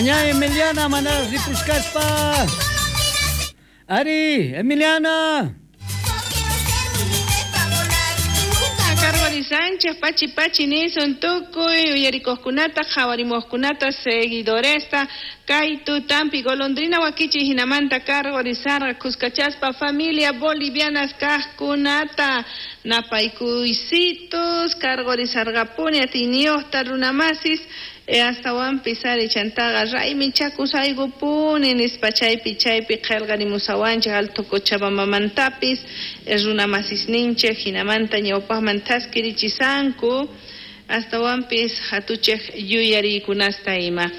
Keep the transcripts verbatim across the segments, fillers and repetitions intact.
Ña Emiliana manaraq ripushkaspa. Ari, Emiliana. Cargori Sánchez, Pachi Pachi nisun tukuy uyarikuqkunata, qhawarimuqkunata, seguidoresta, kaytu tampi golondrina wakichi hinamanta cargorizarqa kuskachaspa familia bolivianas kaqkunata napaykuysitus cargorizarqapuni atiyniyuqta runamasis e astawanpis ari chantaqa raymichakusaykupuni nispa chaypi chaypi qillqarimusawanchik Alto Cochabambamantapis runamasisninchik hinamanta ñawpaqman thaskirichisanku astawanpis hatuchik yuyariykunasta ima.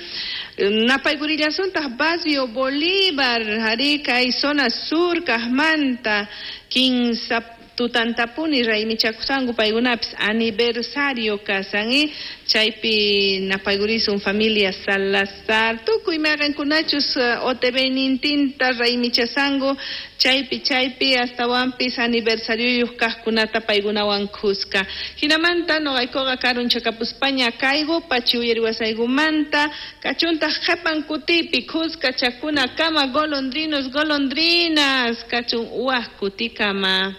Napaykurillasuntaj Barrio Bolívar, Arica y zona sur kaqmanta kinsa tutantapuni raymichakusanku paykunapis aniversario kasan y chaypi napaykurisun familia Salazar tukuy mayqinkunachus O T V nintinta raymichasanku chaypi chaypi astawanpis aniversarioyuq kaqkunata paykunawan kuska hinamanta noqaykuqa karunchakapuspaña kayku pachi uyariwasaykumanta kachuntaq qhipan kutipi kuska chakunakama golondrinos golondrinas kachun waq kutikama.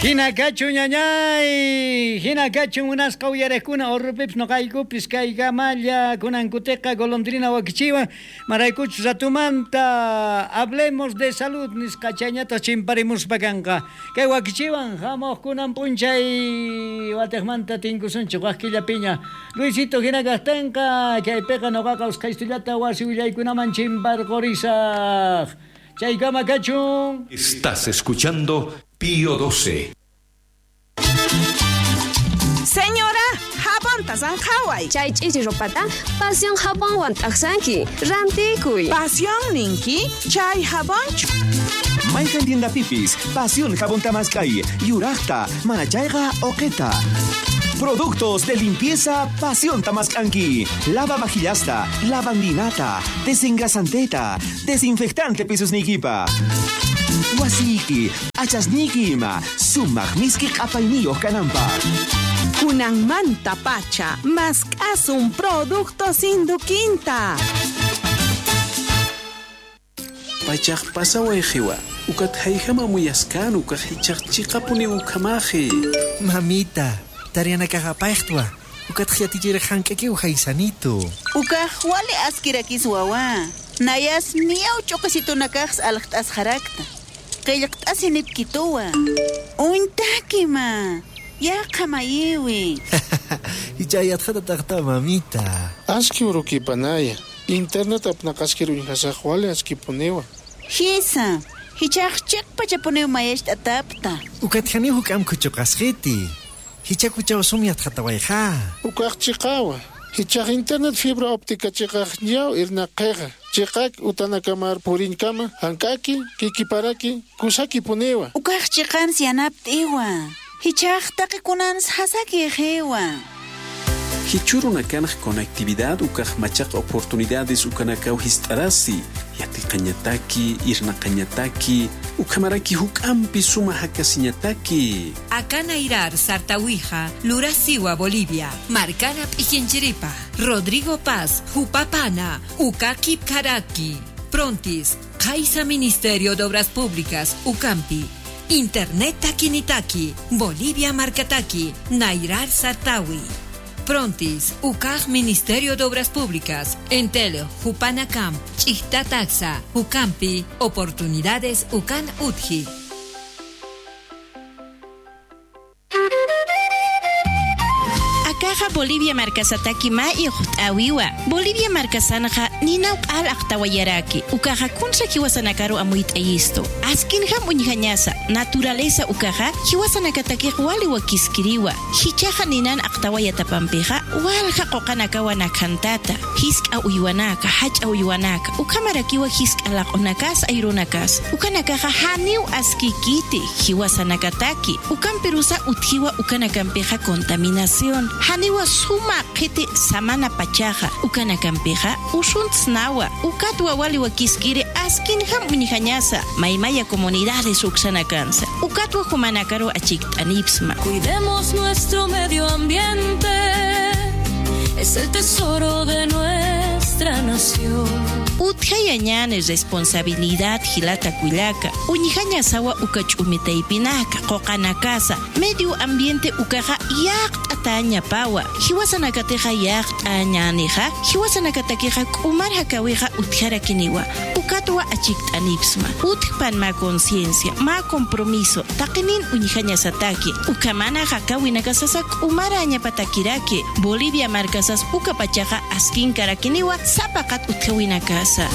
Hina kachun ñañay, hina kachun munasqa uyariqkuna urrupipis noqaykupis kaykamalla kunankutiqa golondrina wakichiwan maraykuchus ratumanta hablemos de salud nisqa chayñata chimparimuspa kanqa kay wakichiwan hamuq kunan p'unchay watiqmanta tinkusunchik waq killapiña Luisito hina kaqtinqa kaypiqa noqaqa usqhaystullata wasi willaykunaman chimparqurisaq chaykama kachun. Estás escuchando Pío doce. Señora, jabonta sanqhaway. Chay ch'ichi ropata Pasión jabonwan t'aqsanki. Rantikuy. Pasión ninki, chay jabonchu. Mayqan tiendapipis, Pasión jabón tamaskay, yuraqta, manachayqa oqeta. Productos de limpieza Pasión Tamascanqui. Lava vajillasta, lavandinata, desengrasanteta, desinfectante pisusnikipa. Wasiki, achasniki ima, sumaq miski q'apayniyuq kananpaq. Kunanmanta pacha, mask'asun productos induquinta. Pachaq pasaway qiwa, ukat hayhama muyaskan ukaq hichaq chiqapuni ukamaji. Mamita, tarianakaqa payqtwa, ukat khiyatichira hank'aki uhaysanito. Ukaq wali askirakis wawa, nayas niyaw ch'uqisitunakaqs alqt'as harakta. Qillqt'asi nipkituwa. Untakima, yaqa mayiwi. Hichayatqata taqta mamita. Aski urukipanaya, internet apnaqaskir uñhasaq wali askipuniwa. Hisa, hichaq chiqpachapuniw mayashta atapta. Ukat hani huk'am kuchuqasqiti. Hichakuchaw sumyatqatawayqa. Ukaq chiqawa. Hichaq internet fibra óptica chiqaq ñaw irnaqiqa. Chiqaq utanakamar purinkama hank'aki kikiparaki kusaki puniwa. Ukaq chiqans yanapt'iwa. Hichaq taqikunans hasaki qiwa. Hichuruna kanaq conectividad ukaq machaq oportunidades ukanakaw hist'arasi yatiqañataki irnaqañataki ukamaraki huk'ampi suma hakasiñataki. Akanairar Sartawija, Lurasiwa Bolivia, Marcana Pijinchiripa, Rodrigo Paz, Jupapana, Ukaki Karaki, Prontis, Kaisa Ministerio de Obras Públicas, Ucampi, Internet Takinitaki, Bolivia Marcataki, Nairar Sartawi. Prontis, U C A J Ministerio de Obras Públicas, Entel, Jupanacamp, Chichtataxa, Jucampi, Oportunidades Ucan Utji. Akaja Bolivia markasataki ma iqt'awiwa. Bolivia markasanja ninaw q'al aqtawayaraki. Ukaja kunsa hiwasanakaru amuyt'ayisto. Askinjam uñjañasa, naturaleza ukaja hiwasanakatakiq waliwa kiskiriwa. Hichaja ninan aqtawayatapampija walja qoqanakawa nakhantata. Hisk'a uywanaka, hach'a uywanaka. Ukamarakiwa hisk'a laq'unakas ayrunakas. Ukanakaja haniw askikiti hiwasanakataki. Ukampirusa utjiwa ukanakampija contaminación. Haniwa suma qhiti samana pachaja ukanakampiqa usuntsnawa ukatwa waliwa kiskiri askinjam uñjañasa maymaya comunidades uksanakansa ukatwa jumanakaru achikt'anipsma. Cuidemos nuestro medio ambiente, es el tesoro de nuestro nuestra nación. Utjaya ñani responsabilidad hilata kuillaka uñijaña sawa uka ch'umitaypinaka qoqanakasa medio ambiente ukaqa yaqt'ataña pawa hiwasanakatiqa yaqt'añanija hiwasanakatakiqa k'umar hakawiqa utjarakiniwa ukatwa achikt'anipsma utjpan ma conciencia ma compromiso taqinin uñijaña sataki ukamana hakawinakasasa k'umara añapatakiraki Bolivia markasas uka pachaqa askinkarakiniwa sapaqat utjawinakasa.